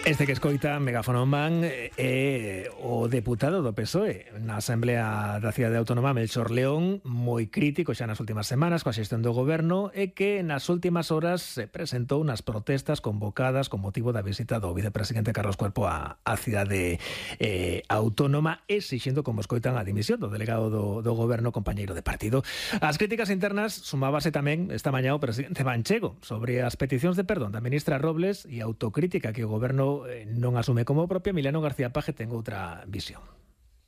Este que escoita Megáfono Man é o deputado do PSOE na Asamblea da Cidade Autónoma, Melchor León, moi crítico xa nas últimas semanas coa xestión do goberno e que nas últimas horas se presentou nas protestas convocadas con motivo da visita do vicepresidente Carlos Cuerpo á cidade autónoma, exixindo, como escoitan, a dimisión do delegado do goberno, compañeiro de partido. As críticas internas sumábase tamén esta mañá o presidente Manchego sobre as peticións de perdón da ministra Robles e a autocrítica que o goberno non asume como propia. Emiliano García Paje ten outra visión.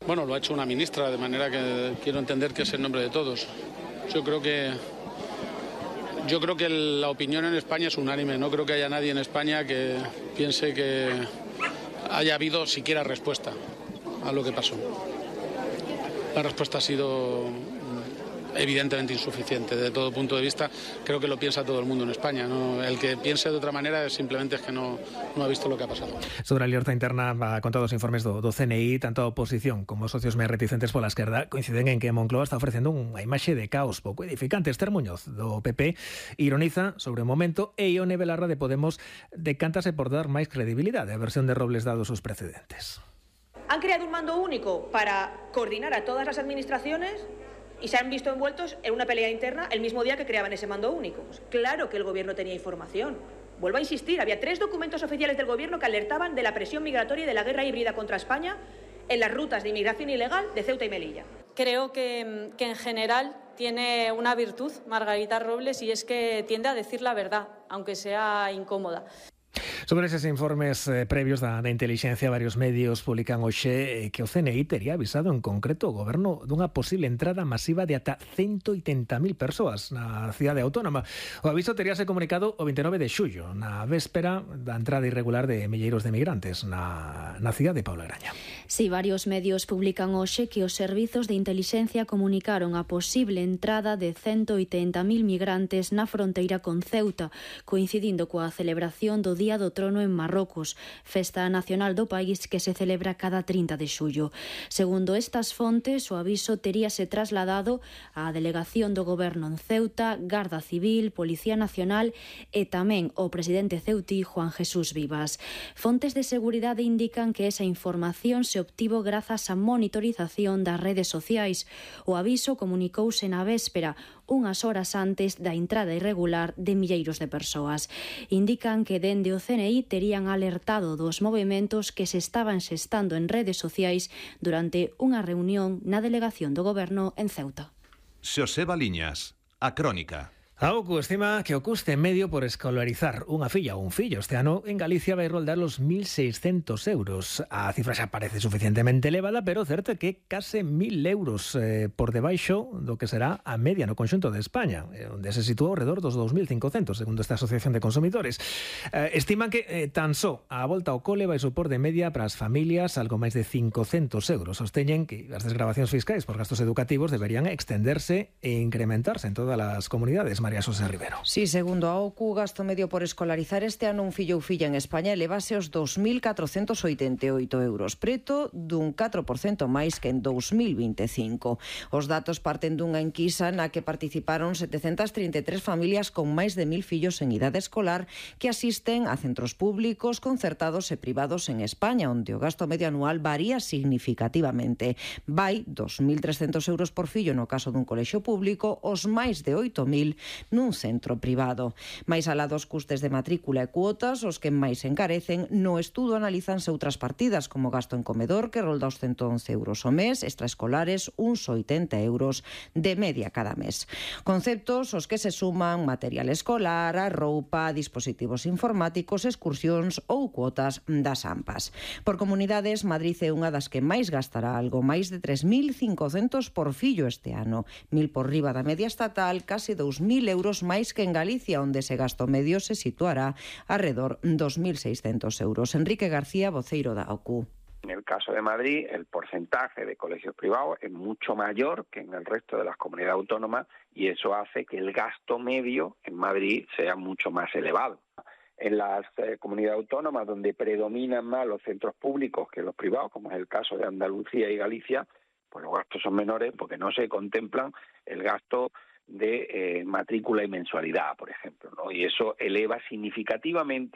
Bueno, lo ha hecho una ministra, de manera que quiero entender que es en nombre de todos. Yo creo que la opinión en España es unánime. No creo que haya nadie en España que piense que haya habido siquiera respuesta a lo que pasó. La respuesta ha sido evidentemente insuficiente desde todo punto de vista. Creo que lo piensa todo el mundo en España, ¿no? El que piense de otra manera simplemente es que no ha visto lo que ha pasado. Sobre a alerta interna, con todos os informes do CNI, tanto a oposición como os socios máis reticentes pola esquerda coinciden en que Moncloa está ofrecendo unha imaxe de caos pouco edificante. Esther Muñoz, do PP, ironiza sobre o momento e Ione Belarra, de Podemos, decántase por dar máis credibilidade á versión de Robles dados os precedentes. Han creado un mando único para coordinar a todas las administraciones y se han visto envueltos en una pelea interna el mismo día que creaban ese mando único. Pues claro que el gobierno tenía información. Vuelvo a insistir, había 3 documentos oficiales del gobierno que alertaban de la presión migratoria y de la guerra híbrida contra España en las rutas de inmigración ilegal de Ceuta y Melilla. Creo que en general tiene una virtud Margarita Robles, y es que tiende a decir la verdad, aunque sea incómoda. Sobre eses informes previos da intelixencia, varios medios publican hoxe que o CNI tería avisado en concreto o goberno dunha posible entrada masiva de ata 180.000 persoas na cidade autónoma. O aviso teríase comunicado o 29 de xullo, na véspera da entrada irregular de milleiros de migrantes na cidade de Paula Graña. Si, varios medios publican hoxe que os servizos de intelixencia comunicaron a posible entrada de 180.000 migrantes na fronteira con Ceuta, coincidindo coa celebración do Día do Trono en Marrocos, festa nacional do país que se celebra cada 30 de xullo. Segundo estas fontes, o aviso teríase trasladado á delegación do goberno en Ceuta, Garda Civil, Policía Nacional e tamén o presidente ceutí Juan Jesús Vivas. Fontes de seguridade indican que esa información se obtivo grazas á monitorización das redes sociais. O aviso comunicouse na véspera, unhas horas antes da entrada irregular de milleiros de persoas. Indican que dende o CNI terían alertado dos movementos que se estaban xestando en redes sociais durante unha reunión na delegación do goberno en Ceuta. Xosé Baliñas, A Crónica. A OCU estima que o custe medio por escolarizar unha filla ou un fillo este ano en Galicia vai roldar os 1.600 euros. A cifra xa parece suficientemente elevada, pero certo é que case 1.000 euros por debaixo do que será a media no conxunto de España, onde se sitúa ao redor dos 2.500, segundo esta Asociación de Consumidores. Estiman que tan só a volta ao cole vai supor de media para as familias algo máis de 500 euros. Sosteñen que as desgravacións fiscais por gastos educativos deberían extenderse e incrementarse en todas as comunidades. María Xosé Rivero. Sí, segundo a OCU, o gasto medio por escolarizar este ano un fillo ou filla en España elevase aos 2.488 euros, preto dun 4% máis que en 2025. Os datos parten dunha enquisa na que participaron 733 familias con máis de 1.000 fillos en idade escolar que asisten a centros públicos, concertados e privados en España, onde o gasto medio anual varía significativamente. Vai 2.300 euros por fillo no caso dun colexio público, os máis de 8.000 nun centro privado. Mais alá dos custes de matrícula e cuotas, os que máis encarecen, no estudo analizanse outras partidas como gasto en comedor, que rolda os 111 euros ao mes, extraescolares uns 80 euros de media cada mes. Conceptos os que se suman material escolar, a roupa, dispositivos informáticos, excursións ou cuotas das AMPAs. Por comunidades, Madrid é unha das que máis gastará, algo máis de 3.500 por fillo este ano, 1.000 por riba da media estatal, case 2.000 euros máis que en Galicia, onde ese gasto medio se situará alrededor 2.600 euros. Enrique García, voceiro da OCU. En el caso de Madrid, el porcentaje de colegios privados es mucho mayor que en el resto de las comunidades autónomas y eso hace que el gasto medio en Madrid sea mucho más elevado. En las comunidades autónomas donde predominan más los centros públicos que los privados, como es el caso de Andalucía y Galicia, pues los gastos son menores porque no se contemplan el gasto de matrícula y mensualidad, por ejemplo, ¿no? Y eso eleva significativamente